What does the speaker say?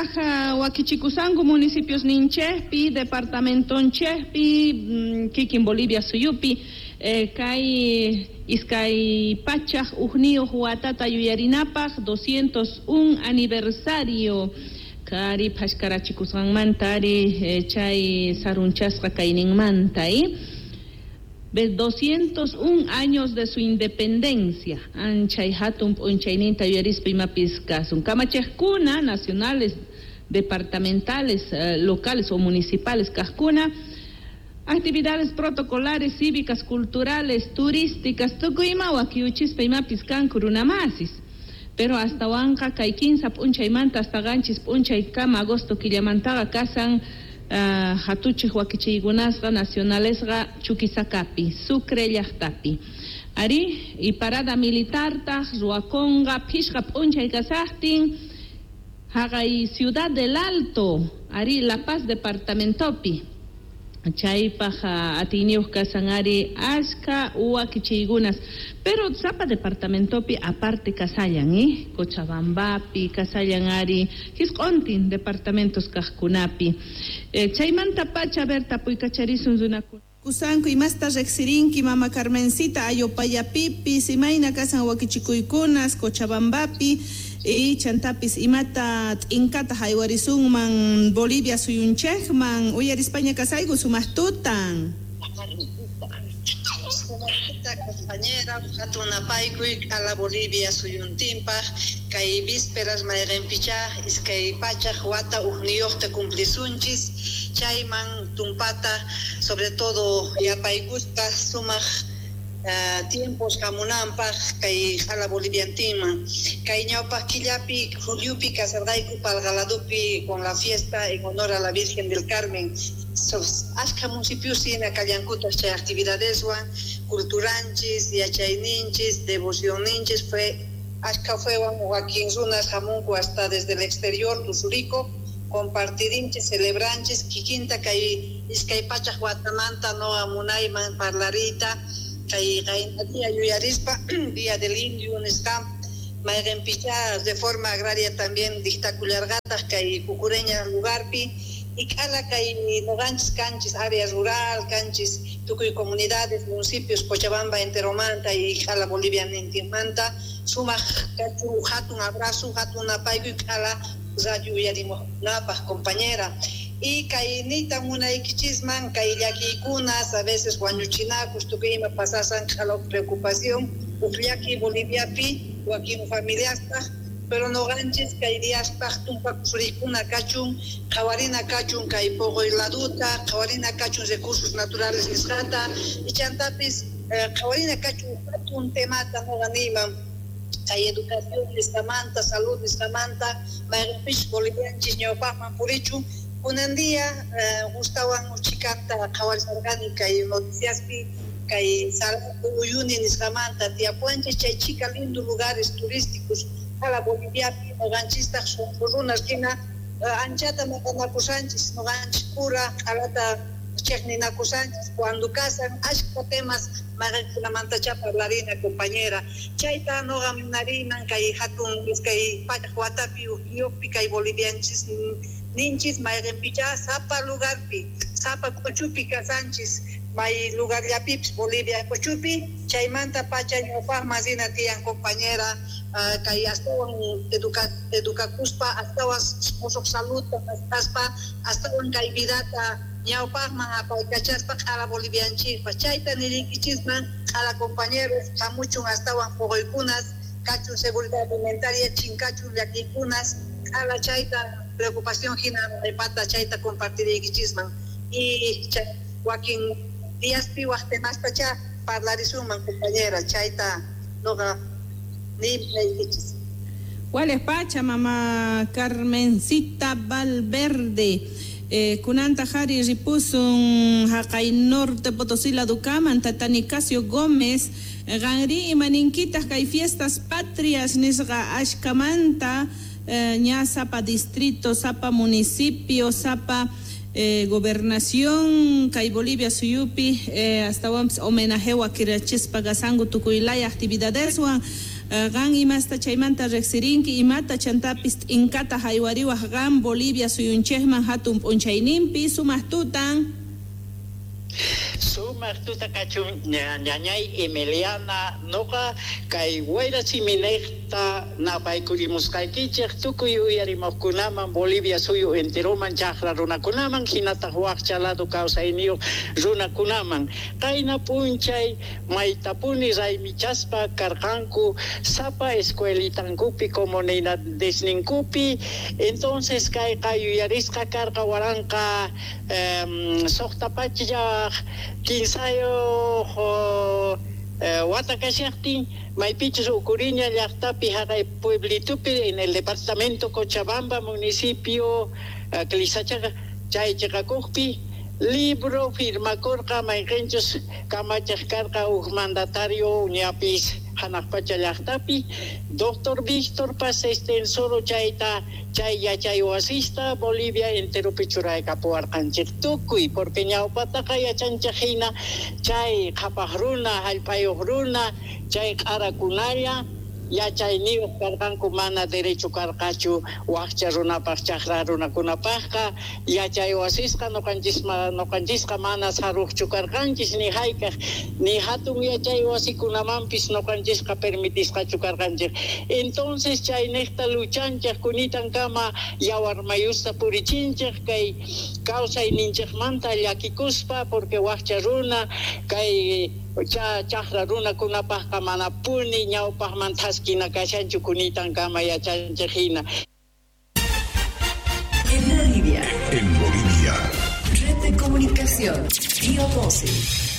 Imaynataq wakichikusanku municipios ninchikpi, departamentonchikpi, kikin Bolivia suyupi, kay 201 watata yuyarinapaq 201 aniversario kari phashkarachikusqanmanta ari chay sarunchasqa kayninmanta 201 años de su independencia. Anchay hatun p'unchayninta yuyarispa imapis kasun. Kamachiqkuna nacionales, departamentales, locales o municipales kaqkuna, actividades protocolares, cívicas, culturales, turísticas, tukuy ima wakiyuchispa imapis kanku runamasis. Pero astawanqa kay 15 p'unchaymanta hasta 7 p'unchaykama agosto killamantaqa kasan hatuchiq wakichiykunasqa nacionalesqa Chuquisacapi, Sucre llaqtapi. Ari, y parada militartaq ruwakunqa phishqa p'unchay kasaqtin haqay Ciudad del Alto, ari La Paz departamentopi. Chaypaq atiyniyuq kasan ari ashka wakichiykunas, pero sapa departamentopi aparte kasallan, Cochabambapi kasallan ari hisq'untin departamentos kaqkunapi. Chaymanta pacha, a ver, tapuykacharisun runakuna. Kusanku imasta riqsirinki mama Carmencita Ayopayapipis, imayna kasan wakichikuykunas Cochabambapi y chantapis imata t'inkata haywarisunman Bolivia suyunchikman uyarispaña kasayku sumaq tutan. Compañera, hatun napaykuy a Bolivia suyuntinpaq kay vísperas mayqinpicha 200 wata uqniyuqta cumplisunchis chayman tumpata sobre todo yapaykuspa sumaq tiempos hamunanpaq kay q'ala boliviantinman kay ñawpaq killapi juliupi kasarqayku Palgaladupi con la fiesta en honor a la Virgen del Carmen. Ashka municipios hina kallankutaq chay actividadeswan culturanchis, yachayninchis, devocionninchis fue ashka fuewan wakin runas hamunku hasta desde el exterior tusurico compartirinchis, celebranchis kikinta kay 200 watamanta no munayman parlarita kay qayna yuyarispa Día del Indio nisqa mayqinpicha reforma agraria también dictakullarqataq kay Cucureña lugarpi y k'ala kay noqanchis kanchis área rural kanchis tukuy comunidades municipios Cochabamba enteromanta y q'ala Bolivia nintinmanta sumaq kachun hatun abrazo hatun napaykuy k'ala radio uyarimuqkunapaq compañera. Y kay niyta munaykichisman kay llakiykunas a veces wañuchinakus tukuy ima pasasan q'ala preocupación uq llaki Boliviapi wakin familiaspaq pero noqanchis kay diaspaq tumpakusuriykuna kachun qhawarina kachun kay poqoy laduta qhawarina kachun recursos naturales nisqata y chantapis qhawarina kachun hatun temata noqa niyman kay educación nisqamanta salud nisqamanta mayqinpis bolivianchis ñawpaqman purichun. Kunan día gustawan uchikanta qhawarisarqani kay noticiaspi kay Salado Uyuni nisqamanta tiyapuanchis chay chika lindo lugares turísticos q'ala Boliviapi noqanchistaq sunqu runas hina anchata maqanakusanchis noqanchis pura q'alata chiqninakusanchis cuando kasan ashka temas mayqinkunamantacha parlarina compañera chayta noqa munariyman kay hatun 200 watapi uqyuqpi kay bolivianchis ninchis mayqinpicha sapa lugarpi sapa k'uchupi kasanchis may lugarllapipis Bolivia k'uchupi chaymanta pacha ñawpaqman rina tiyan compañera kay astawan edukakuspa astawan musuq saludta maskhaspa astawan kay vidata ñawpaqman apaykachaspa q'ala bolivianchikpa chayta niriykichisman q'ala compañeros hamuchun astawan puquykunas kachun seguridad alimentaria chinkachun llakiykunas q'ala chayta preocupación hina pata chayta compartiriykichisman y wakin diaspi waq temastacha parlarisunman compañera chayta noqa niykichis. Wales pacha mama Carmencita Valverde. Kunanta jari ripusun haqay norte Potosí ladukaman tata Nicasio Gómez qanri imaninkitaj kay fiestas patrias nisqa ashkamanta ña sapa distrito, sapa municipio, sapa gobernación kay Bolivia suyupi astawanpis homenajewa kirachispa kasanku tukuylaya actividadeswan. Qan imasta chaymanta riqsirinki, imata chantapis t'inkata haywariwaq qan Bolivia suyunchikman hatun p'unchayninpi? Sumaq tutan. Sumaq tuta kachun ñañay Emiliana, noqa kay wayra siminiqta napaykurimusqaykichik tukuy uyarimuqkunaman Bolivia suyu enteroman chaqra runakunaman hinataq waqcha lado kawsayniyuq runakunaman. Qayna p'unchay maytapuni raymichaspa karqanku sapa escuelitankupi comunidadesninkupi. Entonces kayqa yuyarisqa karqa waranqa 613 wata kashaqtin maypichus Ukuriña llaqtapi haqay pueblitupi en el departamento Cochabamba municipio Clisachaqa chay chiqakuqpi libro firmakurqa mayqinchus kamachiq karqa huk mandatario ñapis hanaq pacha llaqtapi doctor Víctor Paz Estenssoro chayta chay yachay wasista Bolivia enteropi churaykapuwarqanchik tukuy porque ñawpataqa yachanchik hina chay qhapaq runa hallp'ayuq runa chay q'arakunalla yachayniyuq karqanku mana derecho karqachu waqcha runapaq chaqra runakunapaqqa yachay wasisqa nuqanchisqa mana saruqchu karqanchis ni hayk'aq ni hatun yachay wasikunamanpis nuqanchisqa permitisqachu karqanchik. Entonces chayniqta luchanchik kunitankama yawar mayusta purichinchik kay kawsayninchikmanta llakikuspa porque waqcha runa kay chaqra runakunapaqqa manapuni ñawpaqman thaskina kashanchu kunitankama yachanchik hina. En Bolivia. En Bolivia. Red de comunicación. Río 12.